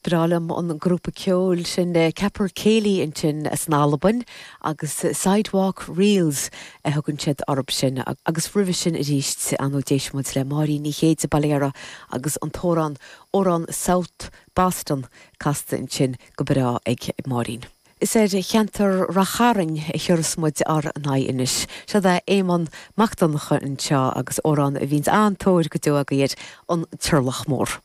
breá liom an grúpa ceoil sin Capercaillie ansin as an Albain agus Sidewalk Reels a thugann siad orthu sin agus roimhe sin arís ar ndóigh d'éist muid le Máirín Ní Chéide, Baile Dara agus an t-amhrán Amhrán South Boston casta ansin go breá ag Máirín. Is ar cheantar Rath Chairn a thiúrfas muid ár n-aghaidh anois. Seod é Éamonn Mac Donncha anseo agus amhrán a bhíonns an-tóir go deo agaibh air, An Turlach Mór.